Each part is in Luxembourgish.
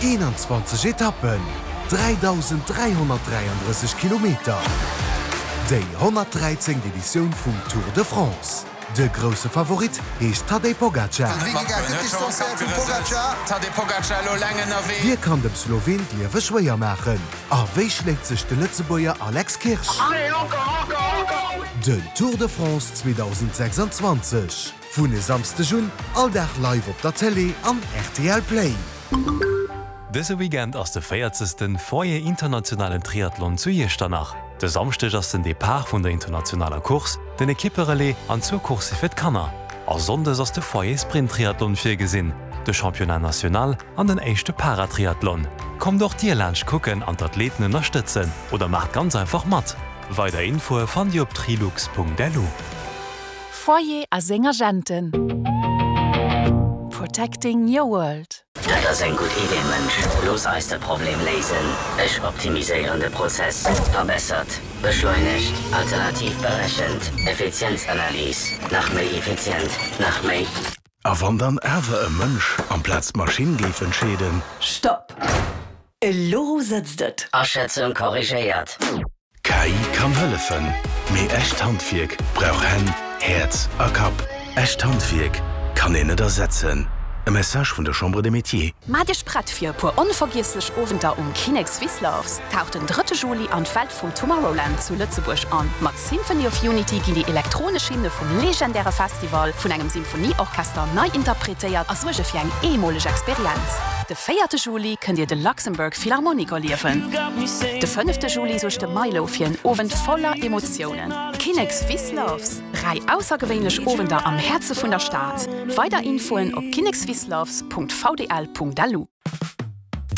21 Etappen, 3.333 Kilometer, déi 113. Editioun vum Tour de France. De grousse Favorit heescht Tadej Pogacar. Wie kann dem Sloween d'Liewe schwéier maachen? A wéi schléit sech de Lëtzebuerger Alex Kirsch? Den Tour de France 2026 vun e Samsdeg un all Dag live op der Télé an rtl Play. Dëse Weekend ass de véierzegsten Foyer Internationalen Triathlon zu Iechternach. De Samschdeg ass den Depart vun der internationaler Course, den Ekippe-Relais an zwou Coursse fir d'Kanner. A Sonndes ass de Foyer Sprint Triathlon virgesinn, de Championnat National an den éischte Paratriathlon. Kommt och dir laanscht kucken an d'Athleten ënnerstëtzen oder maacht ganz einfach mat! Weider Infoe fannt dir op trilux.lu. Foyer a seng Agenten. Protecting your world. Dat ass eng gutt Idee, Mënsch. Looss eis de Problem léisen. Ech optimiséieren de Prozess. Verbessert, beschleunegt, alternativ berechent, Effizienzanalys, nach méi effizient, nach méi. A wann dann awer e Mënsch amplaz d'Maschinn géif entscheeden? Stopp! Elo sëtzt et! Aschätzung korrigéiert. KI kann hëllefen, mee echt Handwierk brauch Hänn, Häerz a Kapp. Echt Handwierk kann een net ersetzen. E Message vun der Chambre des Métiers. Maacht Iech prett fir e puer onvergiesslech Owenter um Kinnek Swisslofs! Taucht den drëtte Juli an d'Welt vum Tomorrowland zu Lëtzebuerg an. Mat Symphony of Unity ginn déi elektronesch Hymne vum legendäre Festival vun engem Symphonieorchester nei interpretéiert a suerge fir eng eemoleg Experienz. De véierte Juli kënnt Dir de Luxembourg Philharmonic erliewen. De fënnefte Juli suergt de Milow fir en Owend voller Emotiounen. Kinnek Swisslofs, 3 aussergewéinlech Owender am Häerze vun der Stad. Weider Infoen op kinnekswissloves.vdl.lu.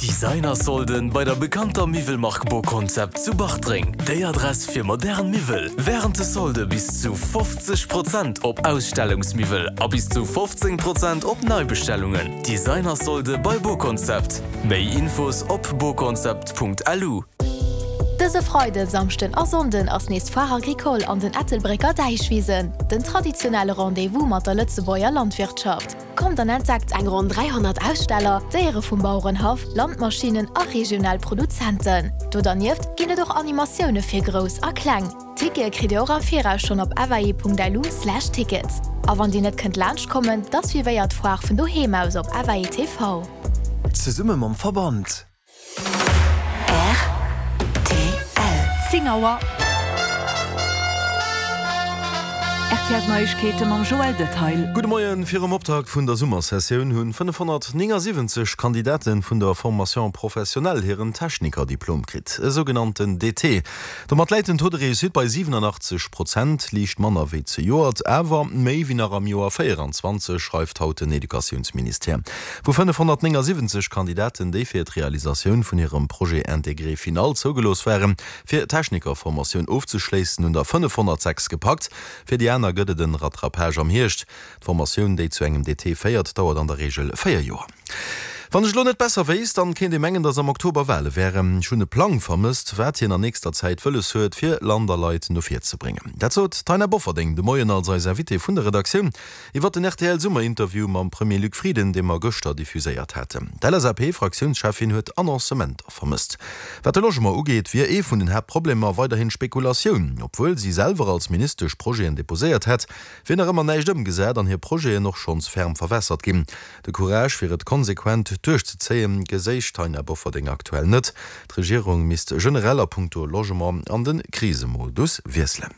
Designer-Solden bei der bekannter Miwwelmark Boconcept zu Bartreng. Déi Adress fir modern Miwwel. Wärend de Solde bis zu 50 Prozent op Ausstellungsmiwwel a bis zu 15 Prozent op Neibestellungen. Designer-Solde bei Boconcept. Méi Infos op boconcept.lu. Dëse Freiden, Samschden a Sonnden ass nees d'Foire Agricole an den Ettelbrécker Däichwisen, den traditionelle Rendez-vous mat der Lëtzebuerger Landwirtschaft. Kommt an entdeckt eng ronn 300 Aussteller, Déiere vum Bauerenhaff, Landmaschinnen a regional Produzenten. Do dernieft ginn et och Animatioune fir Grouss a Kleng. Tickete kritt Dir och am Viraus schonn op fai.lu/tickets. A wann Dir net kënnt laanscht kommen, da suivéiert d'Foire vun doheem aus op FAI TV. Zesumme mam Verband. Rtl. 10 Auer. RTL Neiegkeete mam Joël Detail. Gudde Moien. Virum Optakt vun der Summersessioun hunn 579 Kandidate vun der Formation professionnelle hiren Technikerdiplom kritt, e sougenannten DT. Domat läit den Taux de réussite bei 87 Prozent, liicht manner wéi zejoert, awer méi wéi nach am Joer 24, schreift haut den Educatiounsministère. Vu 579 Kandidaten, déi fir d'Realisatioun vun hirem Projet intégré final zougelooss waren, fir d'Technikerformatioun ofzeschléissen, hunn der 506 gepackt. Fir déi aner gëtt et en Rattrapage am Hierscht. D'Formatioun, déi zu engem DT féiert, dauert an der Reegel 4 Joer. Wann ech elo net besser wéisst, dann kéint ee mengen, dass am Oktober Wale wären. Ech hunn e Plang vermësst, wat hien an nächster Zäit wëlles huet, fir Land a Leit no vir ze bréngen. Dat sot d'Taina Bofferding de Moien als eis Invitée vun der Redaktioun iwwer den RTL-Summerinterview mam Premier Luc Frieden, dee mer gëschter diffuséiert haten. D'LSAP-Fraktiounscheffin huet Annoncementer vermësst. Wat de Logement ugeet, wier ee vun den Haaptproblemer weiderhin d'Spekulatioun. Obwuel si selwer als Ministesch Projeten deposéiert hätt, Wier nach ëmmer näischt ëmgesat an hir Projeten och schonns ferm verwässert ginn. De Courage fir et konsequent duerchzezéien, geséich d'Taina Bofferding aktuell net. D'Regierung misst generell a punkto Logement an de Krisemodus wiesselen.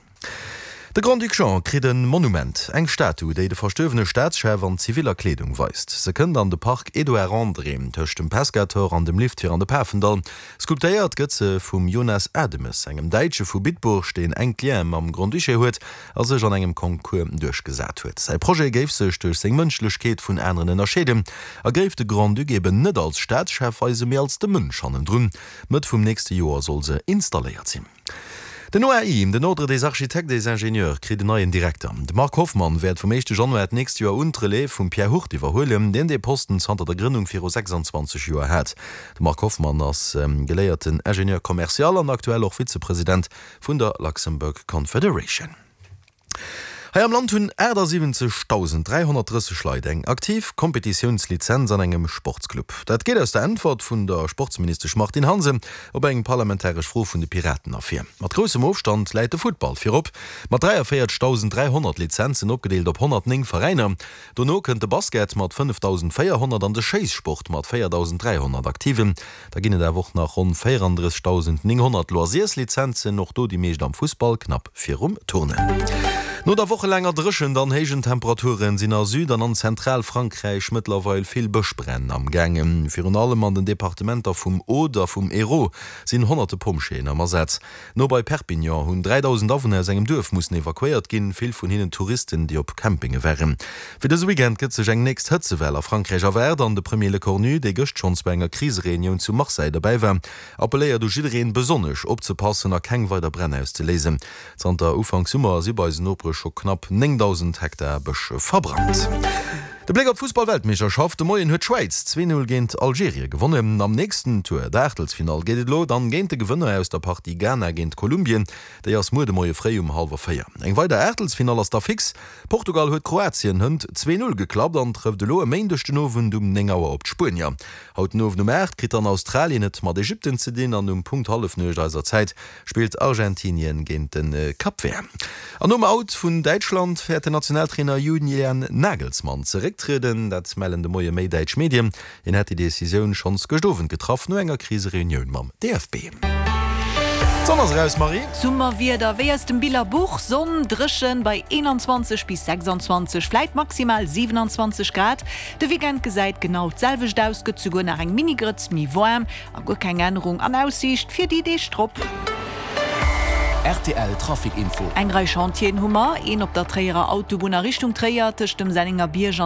De Grand-Duc Jean kritt e Monument, eng Statu, déi de verstuerwene Staatschef an ziviller Kleedung weist. Se kënnt an de Park Edouard André, tëscht dem Pescator an dem Lift fir an de Pafendall. Sculptéiert gëtt se vum Jonas Ademes, engem Däitsche vu Bitburg, deen enk Liene mam Grand-Duché huet a sech an engem Concours duerchgesat huet. Säi Projet géif sech duerch seng Mënschlechkeet vun aneren ënnerscheeden a géif de Grand-Duc eben net als Staatschef weisen, mee als de Mënsch hannendrun. Mëtt vum nächste Joer soll se installéiert sinn. Den OAI, den Ordre des Architectes et Ingénieurs, kritt en neien Direkter. De Marc Hoffmann wäert vum éischte Januar d'nächst Joer un d'Relève vum Pierre Hurt iwwerhuelen, deen dee Posten zanter der Grënnung viru 26 Joer hat. De Marc Hoffmann ass geléierten Ingénieur commercial an aktuell och Vizepresident vun der Luxembourg Confederation. Hei am Land hunn 78.330 Leit eng aktiv Kompetitiounslizenz an engem Sportsclub. Dat geet aus der Äntwert vun der Sportsministesch Martine Hansen op eng parlamentaresch Fro vun de Piraten ervir. Mat groussem Ofstand läit de Futtball virop, mat 43.300 Lizenzen, opgedeelt op 109 Veräiner. Dono kënnt de Basket mat 5.400 an de Schéissport mat 4.300 Aktiven. Da ginn et awer och nach ronn 34.900 Loisirslizenzen, och do déi meescht am Fussball, knapp virum Turnen. No der wochelaanger Dréchent an héijen Temperaturen sinn a Süd an an Zentralfrankräich mëttlerweil vill Bëschbränn am gaangen. Virun allem an den Departementer vum Aude a vum Hérault sinn honnerte Pompjeeën am Asaz. No bei Perpignan hunn 3.000 Awunner aus engem Duerf mussen evakuéiert ginn, vill vun hinnen Touristen, déi op Campinge waren. Fir dëse Weekend gëtt sech eng nächst Hëtzewell a Frankräich erwaart an de Premier Lecornu, dee gëscht schonns bei enger Krisereunioun zu Marseille derbäi war, appelléiert u jiddereen, besonnesch opzepassen a keng weider Bränn auszeléisen. Zanter Ufank Summer si bei eisen Nopere scho knapp 9.000 Hektar Bësch verbrannt. De Bléck op d'Fussball-Weltmeeschterschaft, De Moien huet d'Schwäiz 2, 0 géint Algerien gewonnen. Am nächsten Tour, der Aachtelsfinall, geet et elo dann géint de Gewënner aus der Partie Ghana géint Kolumbien. Déi ass muer de Moie fréi um hallwer 4. Eng weider Aachtelsfinall ass da fix. Portugal huet Kroatien hënt 2, 0 geklappt an trëfft elo e Méindeg den Owend um 9 Auer op d'Spuenier. Haut den Owend um 8 kritt dann Australien et mat Ägypten ze dinn an um Punkt Hallefnuecht eiser Zäit spillt Argentinien géint de Cap Vert. An nom Out vun Däitschland wäert den Nationaltrainer Julian Nagelsmann zerécktrieden. Dat mellen de Moie méi däitsch Medien. Hien hätt déi Decisioun schonns gëscht Owend getraff, no enger Krisereunioun mam DFB. D'Sonn ass eraus, Marie. Summerwieder wéi aus dem Billerbuch, Sonn, dréchen bei 21 bis 26, vläit maximal 27 Grad. De Weekend gesäit genau d'selwecht aus, gëtt souguer nach eng Mini-Grëtz méi waarm. A guer keng Ännerung an Aussiicht fir déi Deeg drop. Rtl Trafic Info. Eng Rei Chantieren hu mer, een op der Tréierer Autobunn a Richtung Tréier tëscht dem Sennenger Bierg an.